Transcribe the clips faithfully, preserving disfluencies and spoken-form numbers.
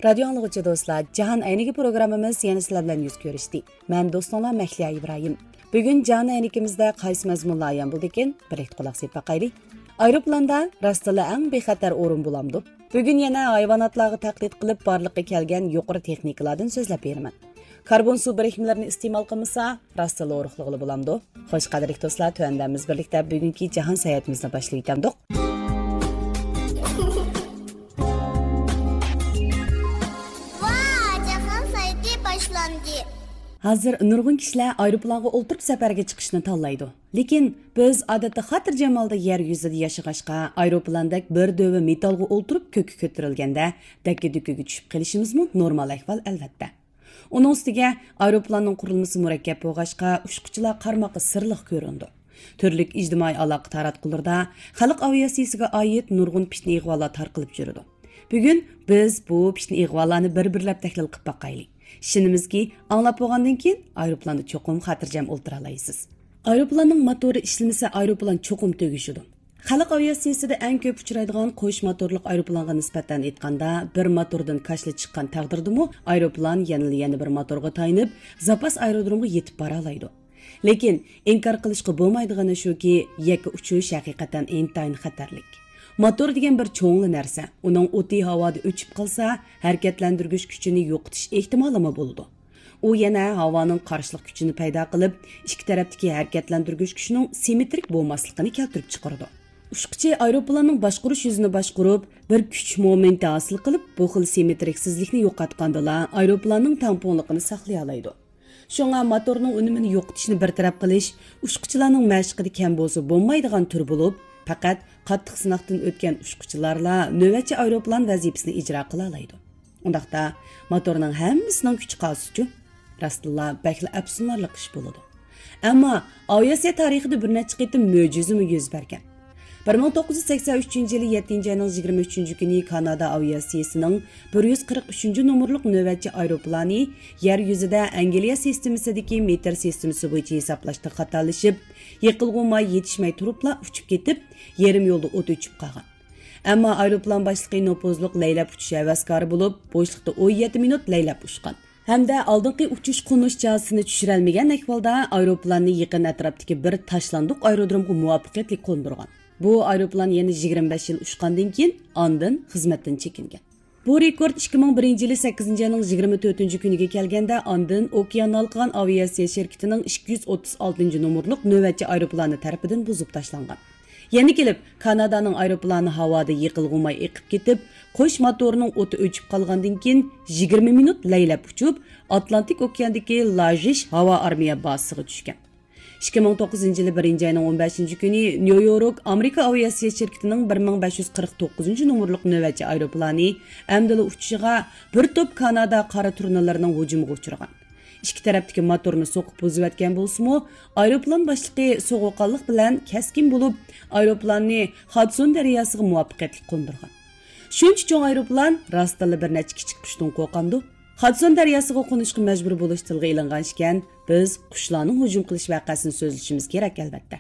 رادىيو ئاڭلىغۇچى دوستلار، جاھان ئەينىكى پروگراممىمىز يەنە سىلەر بىلەن يۈز كۆرۈشتى. مەن دوستۇڭلار مەھلىيا ئىبراھىم. بۈگۈن جاھان ئەينىكىمىزدە قايسى مەزمۇنلار ئايان بولىدىكىن؟ بىرلىكتە قۇلاق سېلىپ باقايلى. ئايروپىلاندا راستلا ئەڭ بىخەتەر ئورۇن بولامدۇ؟ بۈگۈن يەنە ھايۋاناتلارغا تەقلىد قىلىپ بارلىققا كەلگەن يۇقىرى تېخنىكىلاردىن سۆزلەپ بېرىمەن. كاربون سۇ بىرىكمىلىرىنى ئىستېمال قىلمىسا، راستلا ھورۇقلىغىلى بولامدۇ؟ خوش، قەدىرلىك دوستلار، تۆۋەندە بىز بىرلىكتە بۈگۈنكى جاھان ساياھىتىمىزنى باشلىۋېتەمدۇق. ۋا، جاھان ساياھىتى باشلاندى. ھازىر نۇرغۇن كىشىلەر ئايروپىلانغا ئولتۇرۇپ سەپەرگە چىقىشنى تاللايدۇ. لېكىن بىز ئادەتتە خاتىرجەم ھالدا يەر يۈزىدە ياشىغاچقا، ئايروپىلاندەك بىر دۆۋە مېتالغا ئولتۇرۇپ كۆككە كۆتۈرۈلگەندە دەككە-دۈككىگە چۈشۈپ قېلىشىمىزمۇ نورمال ئەھۋال، ئەلۋەتتە. ئۇنىڭ ئۈستىگە ئايروپىلاننىڭ قۇرۇلمىسى مۇرەككەپ بولغاچقا، ئۇچقۇچىلار قارىماققا سىرلىق كۆرۈنىدۇ. تۈرلۈك ئىجتىمائىي ئالاقە تاراتقۇلىرىدا خەلق ئاۋىئاتسىيىسىگە ئائىت نۇرغۇن پىتنە-ئىغۋالار تارقىلىپ يۈرىدۇ. بۈگۈن بىز بۇ پىتنە-ئىغۋالارنى بىر-بىرلەپ تەھلىل قىلىپ باقايلى. ئىشىنىمىزكى، ئاڭلاپ بولغاندىن كېيىن ئايروپىلاندا چوقۇم خاتىرجەم ئولتۇرالايسىز. ئايروپىلاننىڭ موتورى ئىشلىمىسە، ئايروپىلان چوقۇم تۈگىشىدۇ. خەلق ئاۋىئاتسىيىسىدە ئەڭ كۆپ ئۇچرايدىغان قوش موتورلۇق ئايروپىلانغا نىسبەتەن ئېيتقاندا، بىر موتوردىن كاشىلا چىققان تەقدىردىمۇ، ئايروپىلان يەنىلا يەنە بىر موتورغا تايىنىپ، زاپاس ئايرودرومغا يېتىپ بارالايدۇ. لېكىن ئىنكار قىلىشقا بولمايدىغىنى شۇكى، يەككە ئۇچۇش ھەقىقەتەن ئىنتايىن خەتەرلىك. موتور دېگەن بىر چوڭلا نەرسە، ئۇنىڭ ئوتى ھاۋادا ئۆچۈپ قالسا، ھەرىكەتلەندۈرگۈچ كۈچىنى يوقىتىش ئېھتىمالىمۇ بولىدۇ. ئۇ يەنە ھاۋانىڭ قارشىلىق كۈچىنى پەيدا قىلىپ، ئىككى تەرەپتىكى ھەرىكەتلەندۈرگۈچ كۈچىنىڭ سىممېترىك بولماسلىقىنى كەلتۈرۈپ چىقىرىدۇ. ئۇچقۇچى ئايروپىلاننىڭ باشقۇرۇش يۈزىنى باشقۇرۇپ، بىر كۈچ مومېنتى ھاسىل قىلىپ، بۇ خىل سىممېترىكسىزلىكنى يوقاتقاندىلا، ئايروپىلاننىڭ تەڭپۇڭلۇقىنى ساقلىيالايدۇ. شۇڭا موتورنىڭ ئۈنۈمىنى يوقىتىشنى بىر تەرەپ قىلىش ئۇچقۇچىلارنىڭ مەشىقىدە كەم بولسا بولمايدىغان تۈر بولۇپ، پەقەت قاتتىق سىناقتىن ئۆتكەن ئۇچقۇچىلارلا نۆۋەتچى ئايروپىلان ۋەزىپىسىنى ئىجرا قىلالايدۇ. ئۇنداقتا موتورنىڭ ھەممىسىنىڭ كۈچى قالسىچۇ؟ راستتىنلا بەكلا ئەپسۇسلىنارلىق ئىش بولىدۇ. ئەمما ئاۋىئاتسىيە تارىخىدا بىر نەچچە قېتىم مۆجىزىمۇ يۈز بەرگەن. بىر مىڭ توققۇز يۈز سەكسەن ئۈچىنچى يىلى يەتتىنچى ئاينىڭ يىگىرمە ئۈچىنچى كۈنى كانادا ئاۋىئاتسىيىسىنىڭ بىر يۈز قىرىق ئۈچىنچى نومۇرلۇق نۆۋەتچى ئايروپىلانى يەر يۈزىدە ئەنگلىيە سىستېمىسىدىكى مېتىر سىستېمىسى بويىچە ھېسابلاشتا خاتالىشىپ، يېقىلغۇ ماي يېتىشمەي تۇرۇپلا ئۇچۇپ كېتىپ، يېرىم يولدا ئوت ئۆچۈپ قالغان. ئەمما ئايروپىلان باشلىقى نوپۇزلۇق لەيلەپ ئۇچۇش ھەۋەسكارى بولۇپ، بوشلۇقتا ئون يەتتە مىنۇت لەيلەپ ئۇچقان. ھەمدە ئالدىنقى ئۇچۇش-قونۇش چاسىسىنى چۈشۈرەلمىگەن ئەھۋالدا ئايروپىلاننى يېقىن ئەتراپتىكى بىر تاشلاندۇق ئايرودرومغا مۇۋەپپەقىيەتلىك قوندۇرغان. بۇ ئايروپىلان يەنە يىگىرمە بەش يىل ئۇچقاندىن كېيىن ئاندىن خىزمەتتىن چېكىنگەن. بۇ رېكورت ئىككى مىڭ بىرىنچى يىلى سەككىزىنچى ئاينىڭ يىگىرمە تۆتىنچى كۈنىگە كەلگەندە، ئاندىن ئوكيان ھالقىغان ئاۋىئاتسىيە شىركىتىنىڭ ئىككى يۈز ئوتتۇز ئالتىنچى نومۇرلۇق نۆۋەتچى ئايروپىلانى تەرىپىدىن بۇزۇپ تاشلانغان. يەنە كېلىپ، كانادانىڭ ئايروپىلانى ھاۋادا يېقىلغۇ ماي ئېقىپ كېتىپ، قوش موتورنىڭ ئوتى ئۆچۈپ قالغاندىن كېيىن، يىگىرمە مىنۇت لەيلەپ ئۇچۇپ، ئاتلانتىك ئوكياندىكى لاژىش ھاۋا ئارمىيە بازىسىغا چۈشكەن. ئىككى مىڭ توققۇزىنچى يىلى بىرىنچى ئاينىڭ ئون بەشىنچى كۈنى نيۇ يورك ئامېرىكا ئاۋىئاتسىيە شىركىتىنىڭ بىر مىڭ بەش يۈز قىرىق توققۇزىنچى نومۇرلۇق نۆۋەتچى ئايروپىلانى ئەمدىلا ئۇچۇشىغا بىر توپ كانادا قارا تۇرنىلىرىنىڭ ھۇجۇمىغا ئۇچرىغان. ئىككى تەرەپتىكى موتورنى سوقۇپ بۇزۇۋەتكەن بولسىمۇ، ئايروپىلان باشلىقى سوغۇققانلىق بىلەن كەسكىن بولۇپ، ئايروپىلاننى خادسون دەرياسىغا مۇۋەپپەقىيەتلىك قوندۇرغان. شۇنچە چوڭ ئايروپىلان راستتىنلا بىر نەچچە كىچىك قۇشتىن قورقامدۇ؟ خادسون دەرياسىغا قونۇشقا مەجبۇر بولۇش تىلغا ئېلىنغان ئىكەن، بىز قۇشلارنىڭ ھۇجۇم قىلىش ۋەقەسىنى سۆزلىشىمىز كېرەك، ئەلۋەتتە.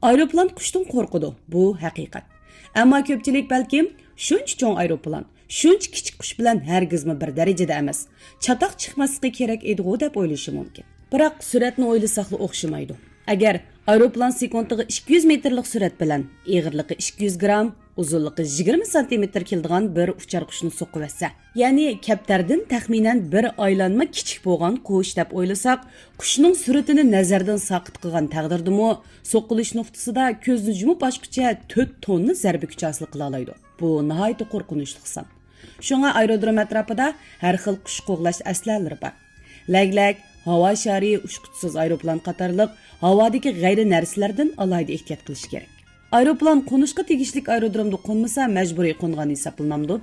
ئايروپىلان قۇشتىن قورقىدۇ، بۇ ھەقىقەت. ئەمما كۆپچىلىك بەلكىم شۇنچە چوڭ ئايروپىلان، شۇنچە كىچىك قۇش بىلەن ھەرگىزمۇ بىر دەرىجىدە ئەمەس، چاتاق چىقماسلىقى كېرەك ئىدىغۇ دەپ ئويلىشى مۇمكىن. بىراق سۈرئەتنى ئويلىساقلا ئوخشىمايدۇ. ئەگەر ئايروپىلان سېكۇنتىغا ئىككى يۈز مېتىرلىق سۈرئەت بىلەن ئېغىرلىقى ئىككى يۈز گرام، ئۇزۇنلۇقى يىگىرمە سانتىمېتىر كېلىدىغان بىر ئۇچار قۇشنى سوقۇۋەتسە، يەنى كەپتەردىن تەخمىنەن بىر ئايلانما كىچىك بولغان قۇش دەپ ئويلىساق، قۇشنىڭ سۈرئىتىنى نەزەردىن ساقىت قىلغان تەقدىردىمۇ، سوقۇلۇش نۇقتىسىدا كۆزنى يۇمۇپ ئاچقۇچە تۆت توننا زەربە كۈچى ھاسىل قىلالايدۇ. بۇ ناھايىتى قورقۇنچلۇق سان. شۇڭا ئايرودروم ئەتراپىدا ھەر خىل قۇش قوغلاش ئەسلىھەلىرى بار. لەگلەك، ھاۋا شارى، ئۇچقۇچىسىز ئايروپىلان قاتارلىق ھاۋادىكى غەيرىي نەرسىلەردىن ئالاھىدە ئېھتىيات قىلىش كېرەك. ئايروپىلان قونۇشقا تېگىشلىك ئايرودرومدا قونمىسا، مەجبۇرىي قونغان ھېسابلىنامدۇ؟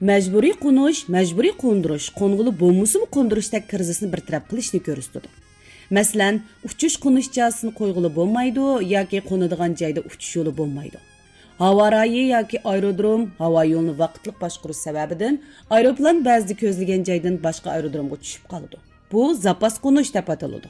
مەجبۇرىي قونۇش، مەجبۇرىي قوندۇرۇش، قونغىلى بولمىسىمۇ قوندۇرۇشتەك كىرىزىسنى بىر تەرەپ قىلىشنى كۆرسىتىدۇ. مەسىلەن، ئۇچۇش-قونۇش چاسىسىنى قويغىلى بولمايدۇ ياكى قونىدىغان جايدا ئۇچۇش يولى بولمايدۇ. ھاۋا رايى ياكى ئايرودروم، ھاۋا يولىنى ۋاقىتلىق باشقۇرۇش سەۋەبىدىن ئايروپىلان بەزىدە كۆزلىگەن جايدىن باشقا ئايرودرومغا چۈشۈپ قالىدۇ. بۇ زاپاس قونۇش دەپ ئاتىلىدۇ.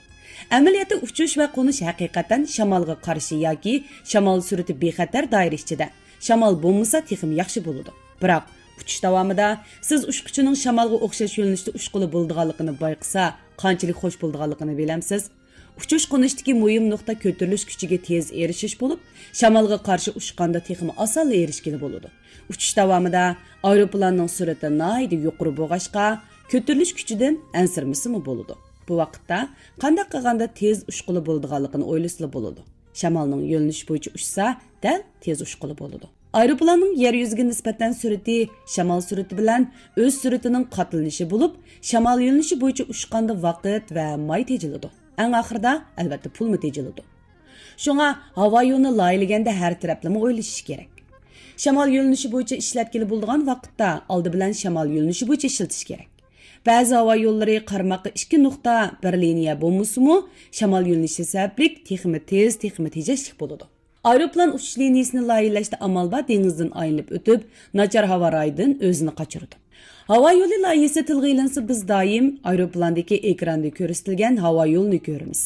ئەمەلىيەتتە ئۇچۇش ۋە قونۇش ھەقىقەتەن شامالغا قارشى ياكى شامال سۈرئىتى بىخەتەر دائىرە ئىچىدە، شامال بولمىسا تېخىمۇ ياخشى بولىدۇ. بىراق ئۇچۇش داۋامىدا سىز ئۇچقۇچىنىڭ شامالغا ئوخشاش يۆنىلىشتە ئۇچقىلى بولىدىغانلىقىنى بايقىسا، قانچىلىك خوش بولىدىغانلىقىنى بىلەمسىز؟ ئۇچۇش-قونۇشتىكى مۇھىم نۇقتا كۆتۈرۈلۈش كۈچىگە تېز ئېرىشىش بولۇپ، شامالغا قارشى ئۇچقاندا تېخىمۇ ئاسانلا ئېرىشكىلى بولىدۇ. ئۇچۇش داۋامىدا ئايروپىلاننىڭ سۈرئىتى ناھايىتى يۇقىرى بولغاچقا، كۆتۈرۈلۈش كۈچىدىن ئەنسىرىمىسىمۇ بولىدۇ. بۇ ۋاقىتتا قانداق قىلغاندا تېز ئۇچقىلى بولىدىغانلىقىنى ئويلىسىلا بولىدۇ. شامالنىڭ يۆنىلىشى بويىچە ئۇچسا، دەل تېز ئۇچقىلى بولىدۇ. ئايروپىلاننىڭ يەر يۈزىگە نىسبەتەن سۈرئىتى شامال سۈرئىتى بىلەن ئۆز سۈرئىتىنىڭ قاتلىنىشى بولۇپ، شامال يۆنىلىشى بويىچە ئۇچقاندا ۋاقىت ۋە ماي تېجىلىدۇ. ئەڭ ئاخىرىدا، ئەلۋەتتە، پۇلمۇ تېجىلىدۇ. شۇڭا ھاۋا يولىنى لايىھىلىگەندە ھەر تەرەپلىمە ئويلىشىش كېرەك. شامال يۆنىلىشى بويىچە ئىشلەتكىلى بولىدىغان ۋاقىتتا ئالدى بىلەن شامال يۆنىلىشى بويىچە ئىشلىتىش كېرەك. بەزى ھاۋا يوللىرى قارىماققا ئىككى نۇقتا بىر لىنىيە بولمىسىمۇ، شامال يۆنىلىشى سەۋەبلىك تېخىمۇ تېز، تېخىمۇ تېجەشلىك بولىدۇ. ئايروپىلان ئۇچۇش لىنىيىسىنى لايىھىلەشتە ئامال بار دېڭىزدىن ئايلىنىپ ئۆتۈپ، ناچار ھاۋا رايىدىن ئۆزىنى قاچۇرىدۇ. ھاۋا يولى لايىھىسى تىلغا ئېلىنسا، بىز دائىم ئايروپىلاندىكى ئېكراندا كۆرسىتىلگەن ھاۋا يولىنى كۆرىمىز.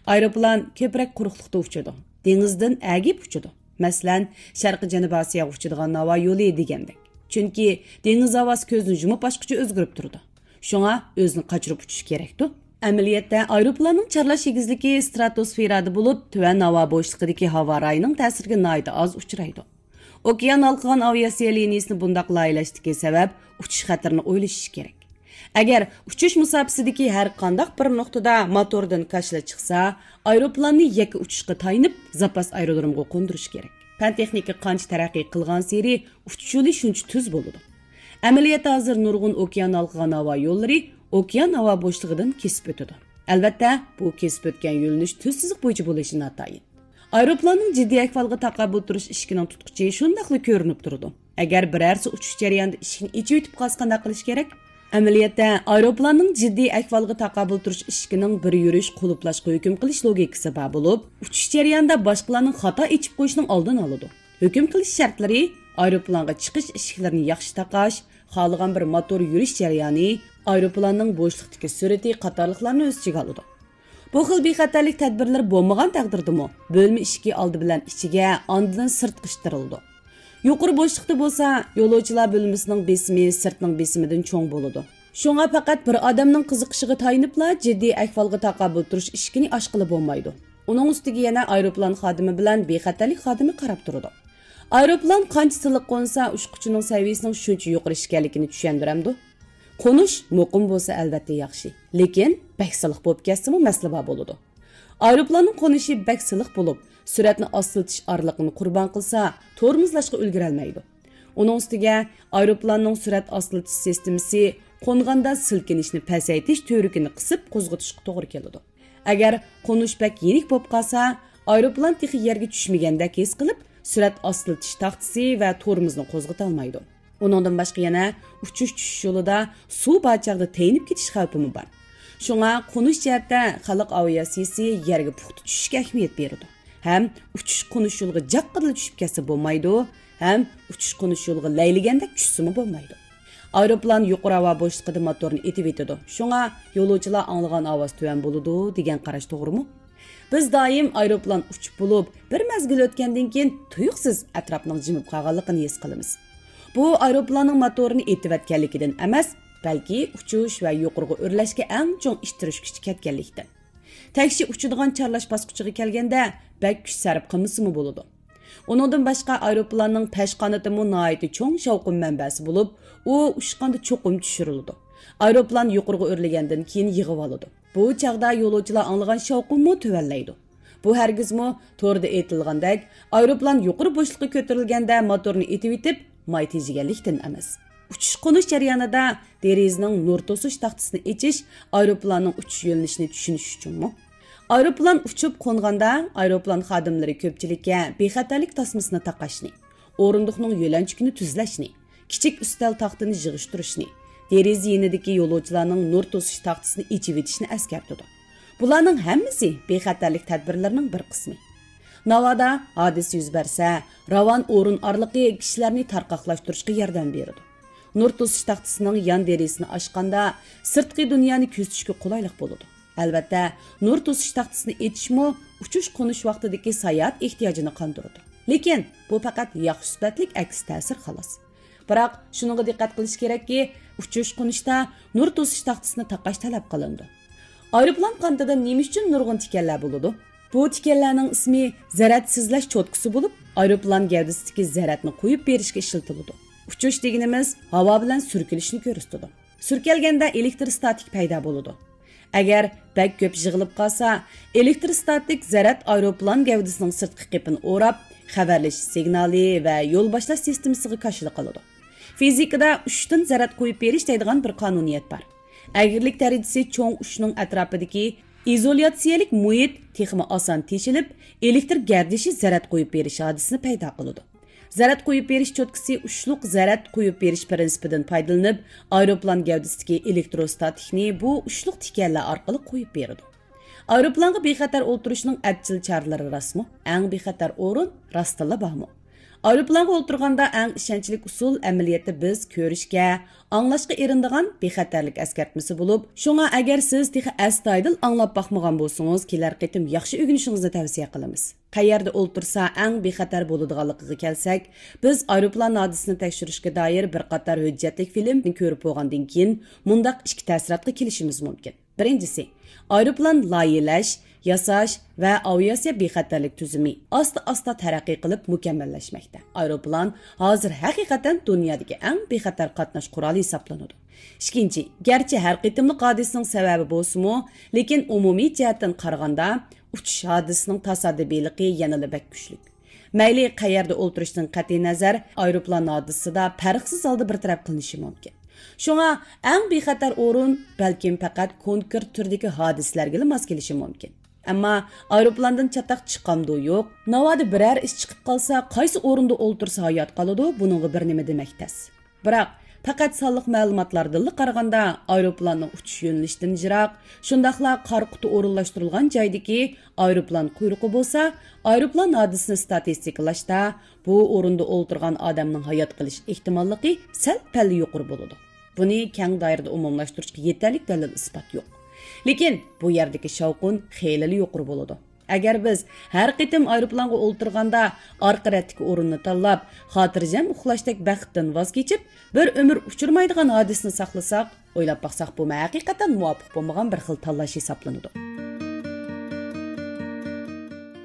ئايروپىلان كۆپرەك قۇرۇقلۇقتا ئۇچىدۇ، دېڭىزدىن ئەگىپ ئۇچىدۇ. مەسىلەن، شەرقىي جەنۇبىي ئاسىياغا ئۇچىدىغان ھاۋا يولى دېگەندەك. چۈنكى دېڭىز ھاۋاسى كۆزنى يۇمۇپ ئاچقۇچە ئۆزگىرىپ تۇرىدۇ. شۇڭا ئۆزىنى قاچۇرۇپ ئۇچۇش كېرەكتۇ. ئەمەلىيەتتە، ئايروپىلاننىڭ چارلاش ئېگىزلىكى ستراتوسفېرادا بولۇپ، تۆۋەن ھاۋا بوشلۇقىدىكى ھاۋا رايىنىڭ تەسىرىگە ناھايىتى ئاز ئۇچرايدۇ. ئوكيان ھالقىغان ئاۋىئاتسىيە لىنىيىسىنى بۇنداق لايىھىلەشتىكى سەۋەب، ئۇچۇش خەتىرىنى ئويلىشىش كېرەك. ئەگەر ئۇچۇش مۇساپىسىدىكى ھەر قانداق بىر نۇقتىدا موتوردىن كاشىلا چىقسا، ئايروپىلاننى يەككە ئۇچۇشقا تايىنىپ، زاپاس ئايرودرومغا قوندۇرۇش كېرەك. پەن-تېخنىكا قانچە تەرەققىي قىلغانسېرى، ئۇچۇش يولى شۇنچە تۈز بولىدۇ. ئەمەلىيەتتە ھازىر نۇرغۇن ئوكيان ھالقىغان ھاۋا يوللىرى ئوكيان ھاۋا بوشلۇقىدىن كېسىپ ئۆتىدۇ. ئەلۋەتتە، بۇ كېسىپ ئۆتكەن يۆنىلىش تۈز سىزىق بويىچە بولۇشى ناتايىن. ئايروپىلاننىڭ جىددىي ئەھۋالغا تاقابىل تۇرۇش ئىشىكىنىڭ تۇتقۇچى شۇنداقلا كۆرۈنۈپ تۇرىدۇ. ئەگەر بىرەرسى ئۇچۇش جەريانىدا ئىشىكنى ئېچىۋېتىپ قالسا، قانداق قىلىش كېرەك؟ ئەمەلىيەتتە، ئايروپىلاننىڭ جىددىي ئەھۋالغا تاقابىل تۇرۇش ئىشىكىنىڭ بىر يۈرۈش قۇلۇپلاشقا ھۆكۈم قىلىش لوگىكىسى بار بولۇپ، ئۇچۇش جەريانىدا باشقىلارنىڭ خاتا ئېچىپ قويۇشىنىڭ ئالدىنى ئالىدۇ. ھۆكۈم قىلىش شەرتلىرى، ئايروپىلانغا چىقىش ئىشىكلىرىنى ياخشى تاقاش، خالىغان بىر موتور يۈرۈش جەريانى، ئايروپىلاننىڭ بوشلۇقتىكى سۈرئىتى قاتارلىقلارنى ئۆز ئىچىگە ئالىدۇ. بۇ خىل بىخەتەرلىك تەدبىرلىرى بولمىغان تەقدىردىمۇ، بۆلمە ئىشىكى ئالدى بىلەن ئىچىگە، ئاندىن سىرتقا ئىتتىرىلىدۇ. يۇقىرى بوشلۇقتا بولسا، يولۇچىلار بۆلمىسىنىڭ بېسىمى سىرتنىڭ بېسىمىدىن چوڭ بولىدۇ. شۇڭا پەقەت بىر ئادەمنىڭ قىزىقىشىغا تايىنىپلا جىددىي ئەھۋالغا تاقابىل تۇرۇش ئىشىكىنى ئاچقىلى بولمايدۇ. ئۇنىڭ ئۈستىگە يەنە ئايروپىلان خادىمى بىلەن بىخەتەرلىك خادىمى قاراپ تۇرىدۇ. ئايروپىلان قانچە سىلىق قونسا، ئۇچقۇچىنىڭ سەۋىيىسىنىڭ شۇنچە يۇقىرى ئىكەنلىكىنى چۈشەندۈرەمدۇ؟ قونۇش مۇقىم بولسا، ئەلۋەتتە ياخشى، لېكىن بەك سىلىق بولۇپ كەتسىمۇ مەسىلە بار بولىدۇ. ئايروپىلاننىڭ قونۇشى بەك سىلىق بولۇپ، سۈرئەتنى ئاستىلىتىش ئارىلىقىنى قۇربان قىلسا، تورمۇزلاشقا ئۈلگۈرەلمەيدۇ. ئۇنىڭ ئۈستىگە ئايروپىلاننىڭ سۈرئەت ئاستىلىتىش سىستېمىسى قونغاندا سىلكىنىشنى پەسەيتىش تۈۋرۈكىنى قىسىپ قوزغىتىشقا توغرا كېلىدۇ. ئەگەر قونۇش بەك يېنىك بولۇپ قالسا، ئايروپىلان تېخى يەرگە چۈشمىگەندەك ھېس قىلىپ، سۈرئەت ئاستىلىتىش تاختىسى ۋە تورمۇزنى قوزغىتالمايدۇ. ئۇنىڭدىن باشقا يەنە ئۇچۇش چۈشۈش يولىدا سۇ بار چاغدا تەينىپ كېتىش خەۋپىمۇ بار. شۇڭا قونۇش جەھەتتە خەلق ئاۋىئاتسىيىسى يەرگە پۇختا چۈشۈشكە ئەھمىيەت بېرىدۇ. ھەم ئۇچۇش قونۇش يولىغا جاققىدىلا چۈشۈپ كەتسە بولمايدۇ، ھەم ئۇچۇش قونۇش يولىغا لەيلىگەندەك چۈشسىمۇ بولمايدۇ. ئايروپىلان يۇقىرى ھاۋا بوشلۇقىدا موتورنى ئېتىۋېتىدۇ. شۇڭا يولۇچىلار ئاڭلىغان ئاۋاز تۆۋەن بولىدۇ دېگەن قاراش توغرىمۇ؟ بىز دائىم ئايروپىلان ئۇچۇپ بولۇپ، بىر مەزگىل ئۆتكەندىن كېيىن تۇيۇقسىز ئەتراپنىڭ جىمىپ قالغانلىقىنى ھېس قىلىمىز. بۇ ئايروپىلاننىڭ موتورىنى ئېتىۋەتكەنلىكىدىن ئەمەس، بەلكى ئۇچۇش ۋە يۇقىرىغا ئۆرلەشكە ئەڭ چوڭ ئىتتىرىش كۈچى كەتكەنلىكتىن. تەكشى ئۇچىدىغان چارلاش باسقۇچىغا كەلگەندە، بەك كۈچ سەرپ قىلمىسىمۇ بولىدۇ. ئۇنىڭدىن باشقا، ئايروپىلاننىڭ پەش قانىتىمۇ ناھايىتى چوڭ شاۋقۇن مەنبەسى بولۇپ، ئۇ ئۇچقاندا چوقۇم چۈشۈرۈلىدۇ. ئايروپىلان يۇقىرىغا ئۆرلىگەندىن كېيىن يىغىۋالىدۇ. بۇ چاغدا يولۇچىلار ئاڭلىغان شاۋقۇنمۇ تۆۋەنلەيدۇ. بۇ ھەرگىزمۇ توردا ئېيتىلغاندەك، ئايروپىلان يۇقىرى بوشلۇققا كۆتۈرۈلگەندە موتورنى ئېتىۋېتىپ، ماي تېجىگەنلىكتىن ئەمەس. ئۇچۇش-قونۇش جەريانىدا دېرىزىنىڭ نۇر توسۇش تاختىسىنى ئېچىش ئايروپىلاننىڭ ئۇچۇش يۆنىلىشىنى چۈشىنىش ئۈچۈنمۇ؟ ئايروپىلان ئۇچۇپ قونغاندا، ئايروپىلان خادىملىرى كۆپچىلىككە بىخەتەرلىك تاسمىسىنى تاقاشنى، ئورۇندۇقنىڭ يۆلەنچۈكىنى تۈزلەشنى، كىچىك ئۈستەل تاختىنى يىغىشتۇرۇشنى، دېرىزە يېنىدىكى يولۇچىلارنىڭ نۇر توسۇش تاختىسىنى ئېچىۋېتىشنى ئەسكەرتىدۇ. بۇلارنىڭ ھەممىسى بىخەتەرلىك تەدبىرلىرىنىڭ بىر قىسمى. ناۋادا ھادىسە يۈز بەرسە، راۋان ئورۇن ئارىلىقى كىشىلەرنى تارقاقلاشتۇرۇشقا ياردەم بېرىدۇ. نۇر توسۇش تاختىسىنىڭ يان دېرىزىسىنى ئاچقاندا، سىرتقى دۇنيانى كۆزىتىشكە قولايلىق بولىدۇ. ئەلۋەتتە، نۇر توسۇش تاختىسىنى ئېچىشمۇ ئۇچۇش-قونۇش ۋاقتىدىكى ساياھەت ئېھتىياجىنى قاندۇرىدۇ. لېكىن بۇ پەقەت ياخشى سۈپەتلىك ئەكس تەسىر، خالاس. بىراق، شۇنىڭغا دىققەت قىلىش كېرەككى، ئۇچۇش-قونۇشتا نۇر توسۇش تاختىسىنى تاقاش تەلەپ قىلىنىدۇ. ئايروپىلان قانىتىدا نېمە ئۈچۈن نۇرغۇن تىكەنلەر بولىدۇ؟ بۇ تىكەنلەرنىڭ ئىسمى زەرەت سىزلەش چوتكىسى بولۇپ، ئايروپىلان گەۋدىسىدىكى زەرەتنى قويۇپ بېرىشكە ئىشلىتىلىدۇ. ئۇچۇش دېگىنىمىز ھاۋا بىلەن سۈركىلىشنى كۆرسىتىدۇ. سۈركەلگەندە ئېلېكتروستاتىك پەيدا بولىدۇ. ئەگەر بەك كۆپ يىغىلىپ قالسا، ئېلېكتروستاتىك زەرەت ئايروپىلان گەۋدىسىنىڭ سىرتقى قېپىنى ئوراپ، خەۋەرلىشىش سىگنالى ۋە يول باشلاش سىستېمىسىغا كاشىلا قىلىدۇ. فىزىكىدا ئۇچتىن زەرەت قويۇپ بېرىش دەيدىغان بىر قانۇنىيەت بار. ئەگرىلىك دەرىجىسى چوڭ ئۇچنىڭ ئەتراپىدىكى ئىزولياتسىيەلىك مۇھىت تېخىمۇ ئاسان تېشىلىپ، ئېلېكتر گەردىشى زەرەت قويۇپ بېرىش ھادىسىسىنى پەيدا قىلىدۇ. زەرەت قويۇپ بېرىش چوتكىسى ئۇچلۇق زەرەت قويۇپ بېرىش پىرىنسىپىدىن پايدىلىنىپ، ئايروپىلان گەۋدىسىدىكى ئېلېكتروستاتىكنى بۇ ئۇچلۇق تىكەنلەر ئارقىلىق قويۇپ بېرىدۇ. ئايروپىلانغا بىخەتەر ئولتۇرۇشنىڭ ئەپچىل چارىلىرى راستمۇ؟ ئەڭ بىخەتەر ئورۇن راستتىنلا بارمۇ؟ ئايروپىلانغا ئولتۇرغاندا ئەڭ ئىشەنچلىك ئۇسۇل ئەمەلىيەتتە بىز كۆرۈشكە، ئاڭلاشقا ئېرىنىدىغان بىخەتەرلىك ئەسكەرتمىسى بولۇپ، شۇڭا ئەگەر سىز تېخى ئەستايىدىل ئاڭلاپ باقمىغان بولسىڭىز، كېلەر قېتىم ياخشى ئۆگىنىشىڭىزنى تەۋسىيە قىلىمىز. قەيەردە ئولتۇرسا ئەڭ بىخەتەر بولىدىغانلىقىغا كەلسەك، بىز ئايروپىلان ھادىسىسىنى تەكشۈرۈشكە دائىر بىر قاتار ھۆججەتلىك فىلىمنى كۆرۈپ بولغاندىن كېيىن، مۇنداق ئىككى تەسىراتقا كېلىشىمىز مۇمكىن. بىرىنچىسى، ئايروپىلان لايىھەلەش، ياساش ۋە ئاۋىئاتسىيە بىخەتەرلىك تۈزۈمى ئاستا-ئاستا تەرەققىي قىلىپ مۇكەممەللەشمەكتە. ئايروپىلان ھازىر ھەقىقەتەن دۇنيادىكى ئەڭ بىخەتەر قاتناش قورالى ھېسابلىنىدۇ. ئىككىنچى، گەرچە ھەر قېتىملىق ھادىسىنىڭ سەۋەبى بولسىمۇ، لېكىن ئومۇمىي جەھەتتىن قارىغاندا، ئۇچۇش ھادىسىسىنىڭ تاسادىپىيلىقى يەنىلا بەك كۈچلۈك. مەيلى قەيەردە ئولتۇرۇشتىن قەتئىينەزەر، ئايروپىلان ھادىسىسىدا پەرقسىز ھالدا بىر تەرەپ قىلىنىشى مۇمكىن. شۇڭا ئەڭ بىخەتەر ئورۇن بەلكىم پەقەت كونكرېت تۈردىكى ھادىسىلەرگىلا ماس كېلىشى مۇمكىن. ئەمما ئايروپىلاندىن چاتاق چىقامدۇ يوق، ناۋادا بىرەر ئىش چىقىپ قالسا، قايسى ئورۇندا ئولتۇرسا ھايات قالىدۇ، بۇنىڭغا بىر نېمە دېمەك تەس. بىراق، پەقەت سانلىق مەلۇماتلاردىنلا قارىغاندا، ئايروپىلاننىڭ ئۇچۇش يۆنىلىشىدىن يىراق، شۇنداقلا قارا قۇتا ئورۇنلاشتۇرۇلغان جايدىكى ئايروپىلان قۇيرۇقى بولسا، ئايروپىلان ھادىسىسىنى ستاتىستىكىلاشتا، بۇ ئورۇندا ئولتۇرغان ئادەمنىڭ ھايات قېلىش ئېھتىماللىقى سەل پەللا يۇقىرى بولىدۇ. بۇنى كەڭ دائىرىدە ئومۇملاشتۇرۇشقا يېتەرلىك دەلىل-ئىسپات يوق. لېكىن بۇ يەردىكى شاۋقۇن خېلىلا يۇقىرى بولىدۇ. ئەگەر بىز ھەر قېتىم ئايروپىلانغا ئولتۇرغاندا ئارقا رەتتىكى ئورۇننى تاللاپ، خاتىرجەم ئۇخلاشتەك بەختتىن ۋاز كېچىپ، بىر ئۆمۈر ئۇچرىمايدىغان ھادىسىنى ساقلىساق، ئويلاپ باقساق، بۇمۇ ھەقىقەتەن مۇۋاپىق بولمىغان بىر خىل تاللاش ھېسابلىنىدۇ.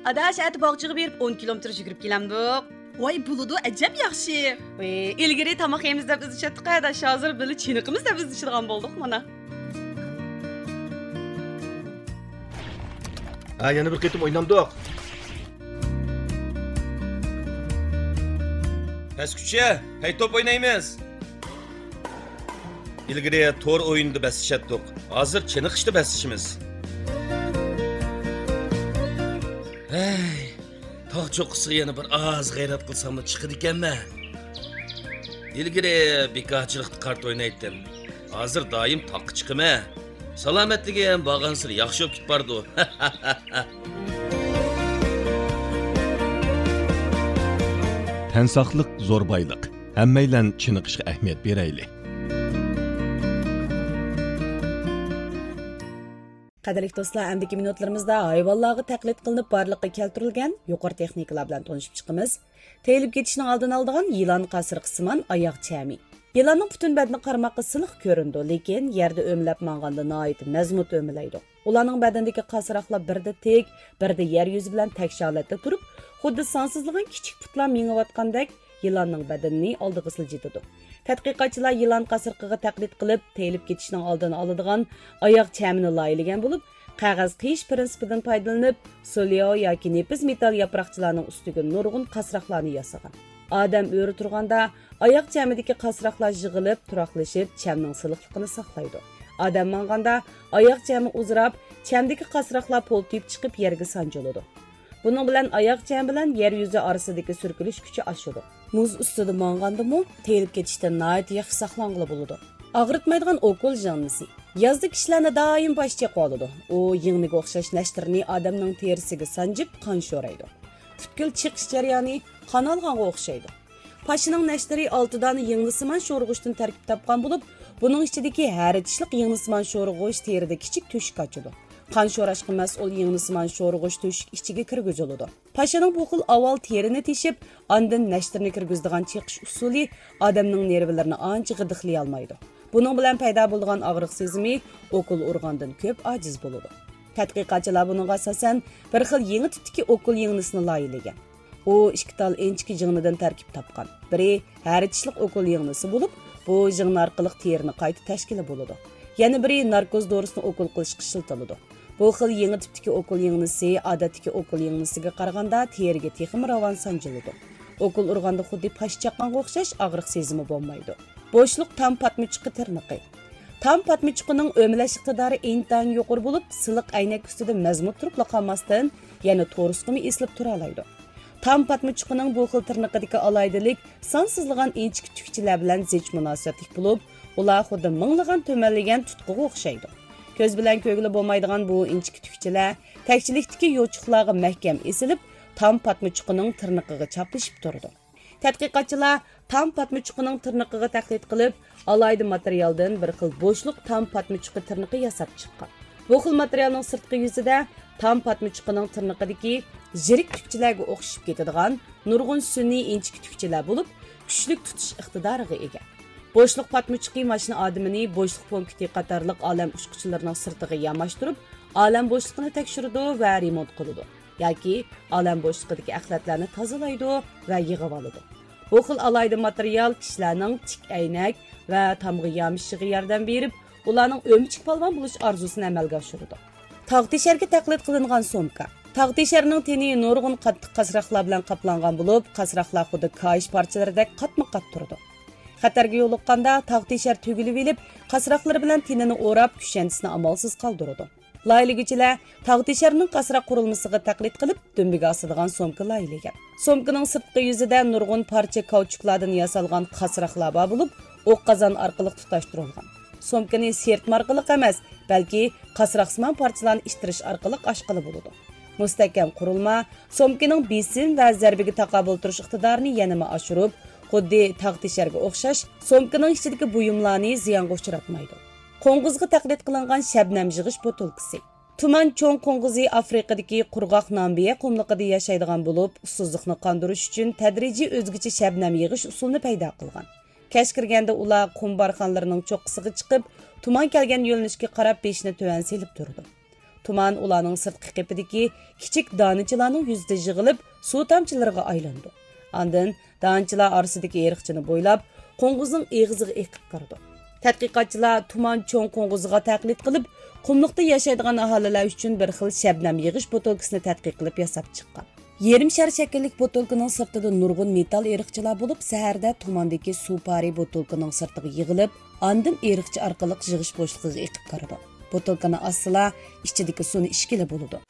ئاداش، ئەتە باغچىغا بېرىپ ئون كىلومېتىر يۈگۈرۈپ كېلەمدۇق. ۋاي، بولىدۇ، ئەجەب ياخشى. ۋىي، ئىلگىرى تاماق يەيمىز دەپ ئىزدىشەتتۇق، ئاداش، ھازىر بىللە چېنىقىمىز دەپ ئىزدىشىدىغان بولدۇق مانا. ھە، يەنە بىر قېتىم ئوينامدۇق؟ پەسكۈچە، پەي توپ ئوينايمىز. ئىلگىرى تور ئويۇنىدا بەسلىشەتتۇق، ھازىر چېنىقىشتا بەسلىشىمىز. ھەي، تاغ چوققىسىغا يەنە بىر ئاز غەيرەت قىلساملا چىقىدىكەنمەن. ئىلگىرى بىكارچىلىقتا كارتا ئوينايتتىم، ھازىر دائىم تاغقا چىقىمەن. سالامەتلىكىم بارغانسېرى ياخشى بولۇپ كېتىپ بارىدۇ. تەن ساقلىق زور بايلىق. ھەممەيلەن چېنىقىشقا ئەھمىيەت بېرەيلى. قەدىرلىك دوستلار، ئەمدىكى مىنۇتلىرىمىزدا ھايۋانلارغا تەقلىد قىلىنىپ بارلىققا كەلتۈرۈلگەن يۇقىرى تېخنىكىلار بىلەن تونۇشۇپ چىقىمىز. تېيىلىپ كېتىشنىڭ ئالدىنى ئالىدىغان يىلان قاسرىقىسىمان ئاياغ چەمى. يىلاننىڭ پۈتۈن بەدىنى قارىماققا سىلىق كۆرۈنىدۇ، لېكىن يەردە ئۆمىلەپ ماڭغاندا ناھايىتى مەزمۇت ئۆمىلەيدۇ. ئۇلارنىڭ بەدىنىدىكى قاسراقلار بىردە تىك، بىردە يەر يۈزى بىلەن تەكشى ھالەتتە تۇرۇپ، خۇددى سانسىزلىغان كىچىك پۇتلار مېڭىۋاتقاندەك يىلاننىڭ بەدىنىنى ئالدىغا سىلجىتىدۇ. تەتقىقاتچىلار يىلان قاسرىقىغا تەقلىد قىلىپ، تېيىلىپ كېتىشنىڭ ئالدىنى ئالىدىغان ئاياغ چەمىنى لايىھەلىگەن بولۇپ، قەغەز قىيىش پىرىنسىپىدىن پايدىلىنىپ، سولياۋ ياكى نېپىز مېتال ياپراقچىلارنىڭ ئۈستىگە نۇرغۇن قاسراقلارنى ياسىغان. ئادەم ئۆرە تۇرغاندا، ئاياغ چەمىدىكى قاسراقلار يىغىلىپ، تۇراقلىشىپ، چەمنىڭ سىلىقلىقىنى ساقلايدۇ. ئادەم ماڭغاندا، ئاياغ چەمى ئۇزىراپ، چەمدىكى قاسراقلار پولتىيىپ چىقىپ، يەرگە سانجىلىدۇ. بۇنىڭ بىلەن ئاياغ چەمى بىلەن يەر يۈزى ئارىسىدىكى سۈركىلىش كۈچى ئاشىدۇ. مۇز ئۈستىدە ماڭغاندىمۇ تېيىلىپ كېتىشتىن ناھايىتى ياخشى ساقلانغىلى بولىدۇ. ئاغرىتمايدىغان ئوكۇل يىڭنىسى. يازدا كىشىلەرنى دائىم باش چېقىۋالىدۇ. ئۇ يىڭنىگە ئوخشاش نەشتىرىنى ئادەمنىڭ تېرىسىگە سانجىپ، قان شورايدۇ. پۈتكۈل چېقىش جەريانى قان ئالغانغا ئوخشايدۇ. پاشىنىڭ نەشتىرى ئالتە دانە يىڭنىسىمان شورىغۇچتىن تەركىب تاپقان بولۇپ، بۇنىڭ ئىچىدىكى ھەرە چىشلىق يىڭنىسىمان شورىغۇچ تېرىدە كىچىك تۆشۈك ئاچىدۇ. قان شوراشقا مەسئۇل يىڭنىسىمان شورىغۇچ تۆشۈك ئىچىگە كىرگۈزۈلىدۇ. پاشىنىڭ بۇ خىل ئاۋۋال تېرىنى تېشىپ، ئاندىن نەشتىرنى كىرگۈزىدىغان چېقىش ئۇسۇلى ئادەمنىڭ نېرۋىلىرىنى ئانچە غىدىقلىيالمايدۇ. بۇنىڭ بىلەن پەيدا بولىدىغان ئاغرىق سېزىمى ئوكۇل ئۇرغاندىن كۆپ ئاجىز بولىدۇ. تەتقىقاتچىلار بۇنىڭغا ئاساسەن، بىر خىل يېڭى تىپتىكى ئوكۇل يىڭنىسىنى لايىھىلىگەن. ئۇ ئىككى تال ئىنچىكە يىڭنىدىن تەركىب تاپقان. بىرى ھەر چىشلىق ئوكۇل يىڭنىسى بولۇپ، بۇ يىڭنە ئارقىلىق تېرىنى قايتا تەشكىلە بولىدۇ. يەنە بىرى ناركوز دورىسىنى ئوكۇل قىلىشقا ئىشلىتىلىدۇ. بۇ خىل يېڭى تىپتىكى ئوكۇل يىڭنىسى ئادەتتىكى ئوكۇل يىڭنىسىگە قارىغاندا تېرىگە تېخىمۇ راۋان سانجىلىدۇ. ئوكۇل ئۇرغاندا خۇددى پاش چاققانغا ئوخشاش ئاغرىق سېزىمى بولمايدۇ. بوشلۇق تام پاتمىچۇقى تىرنىقى. تام پاتمىچۇقىنىڭ ئۆمىلەش ئىقتىدارى ئىنتايىن يۇقىرى بولۇپ، سىلىق ئەينەك ئۈستىدە مەزمۇت تۇرۇپلا قالماستىن، يەنە تورۇسقىمۇ ئېسىلىپ تۇرالايدۇ. تام پاتمىچۇقىنىڭ بۇ خىل تىرنىقىدىكى ئالاھىدىلىك سانسىزلىغان ئىنچىكە تۈكچىلەر بىلەن زىچ مۇناسىۋەتلىك بولۇپ، ئۇلار خۇددى مىڭلىغان تۈمەنلىگەن تۇتقىغا ئوخشايدۇ. كۆز بىلەن كۆرگىلى بولمايدىغان بۇ ئىنچىكە تۈكچىلەر تەكچىلىكتىكى يوچۇقلارغا مەھكەم ئېسىلىپ، تام پاتمىچۇقىنىڭ تىرنىقىغا چاپلىشىپ تۇرىدۇ. تەتقىقاتچىلار تام پاتمىچۇقىنىڭ تىرنىقىغا تەقلىد قىلىپ، ئالاھىدە ماتېرىيالدىن بىر خىل بوشلۇق تام پاتمىچۇقى تىرنىقى ياساپ چىققان. بۇ خىل ماتېرىيالنىڭ سىرتقى يۈزىدە تام پاتمىچۇقىنىڭ تىرنىقىدىكى يىرىك تۈكچىلەرگە ئوخشىشىپ كېتىدىغان نۇرغۇن سۈنئىي ئىنچىكە تۈكچىلەر بولۇپ، كۈچلۈك تۇتۇش ئىقتىدارىغا ئىگە. بوشلۇق پاتمىچۇقى ماشىنا ئادىمىنى بوشلۇق پونكىتى قاتارلىق ئالەم ئۇچقۇچىلىرىنىڭ سىرتىغا ياماشتۇرۇپ، ئالەم بوشلۇقىنى تەكشۈرىدۇ ۋە رېمونت قىلىدۇ ياكى ئالەم بوشلۇقىدىكى ئەخلەتلەرنى تازىلايدۇ ۋە يىغىۋالىدۇ. بۇ خىل ئالاھىدە ماتېرىيال كىشىلەرنىڭ تىك ئەينەك ۋە تامغا يامىشىشىغا ياردەم بېرىپ، ئۇلارنىڭ ئۆمۈچۈك پالۋان بولۇش ئارزۇسىنى ئەمەلگە ئاشۇرىدۇ. تاغ تېشەرگە تەقلىد قىلىنغان سومكا. تاغ تېشەرنىڭ تېنى نۇرغۇن قاتتىق قاسراقلار بىلەن قاپلانغان بولۇپ، قاسراقلار خۇددى كاھىش پارچىلىرىدەك قاتمۇ قات تۇرىدۇ. خەتەرگە يولۇققاندا، تاغ تېشەر تۈگۈلۈۋېلىپ، قاسراقلىرى بىلەن تېنىنى ئوراپ، كۈشەنچىسىنى ئامالسىز قالدۇرىدۇ. لايىھىلىگۈچىلەر تاغ تېشەرنىڭ قاسراق قۇرۇلمىسىغا تەقلىد قىلىپ، دۈمبىگە ئاسىدىغان سومكا لايىھىلىگەن. سومكىنىڭ سىرتقى يۈزىدە نۇرغۇن پارچە كاۋچۇكلاردىن ياسالغان قاسراقلار بار بولۇپ، ئوق قازان ئارقىلىق تۇتاشتۇرۇلغان. سومكىنى سىرتما ئارقىلىق ئەمەس، بەلكى قاسراقسىمان پارچىلارنى ئىتتىرىش ئارقىلىق ئاچقىلى بولىدۇ. مۇستەھكەم قۇرۇلما سومكىنىڭ بېسىم ۋە زەربىگە تاقابىل تۇرۇش ئىقتىدارىنى يەنىمۇ ئاشۇرۇپ، خۇددى تاغ تېشەرگە ئوخشاش، سومكىنىڭ ئىچىدىكى بۇيۇملارنى زىيانغا ئۇچراتمايدۇ. قوڭغۇزغا تەقلىد قىلىنغان شەبنەم يىغىش بوتۇلكىسى. تۇمان چوڭ قوڭغۇزى ئافرىقىدىكى قۇرغاق نامبىيە قۇملۇقىدا ياشايدىغان بولۇپ، ئۇسسۇزلۇقنى قاندۇرۇش ئۈچۈن تەدرىجىي ئۆزگىچە شەبنەم يىغىش ئۇسۇلىنى پەيدا قىلغان. كەچ كىرگەندە ئۇلار قۇم بارخانلىرىنىڭ چوققىسىغا چىقىپ، تۇمان كەلگەن يۆنىلىشكە قاراپ بېشىنى تۆۋەن سېلىپ تۇرىدۇ. تۇمان ئۇلارنىڭ سىرتقى قېپىدىكى كىچىك دانىچىلارنىڭ يۈزىدە يىغىلىپ، سۇ تامچىلىرىغا ئايلىنىدۇ. ئاندىن دانىچىلار ئارىسىدىكى ئېرىقچىنى بويلاپ، قوڭغۇزنىڭ ئېغىزىغا ئېقىپ كىرىدۇ. تەتقىقاتچىلار تۇمان چوڭ قوڭغۇزىغا تەقلىد قىلىپ، قۇملۇقتا ياشايدىغان ئاھالىلەر ئۈچۈن بىر خىل شەبنەم يىغىش بوتۇلكىسىنى تەتقىق قىلىپ ياساپ چىققان. يېرىم شار شەكىللىك بوتۇلكىنىڭ سىرتىدا نۇرغۇن مېتال ئېرىقچىلار بولۇپ، سەھەردە تۇماندىكى سۇ پارى بوتۇلكىنىڭ سىرتىغا يىغىلىپ، ئاندىن ئېرىقچە ئارقىلىق يىغىش بوشلۇقىغا ئېقىپ كىرىدۇ. بوتۇلكىنى ئاچسىلا، ئىچىدىكى سۇنى ئىچكىلى بولىدۇ.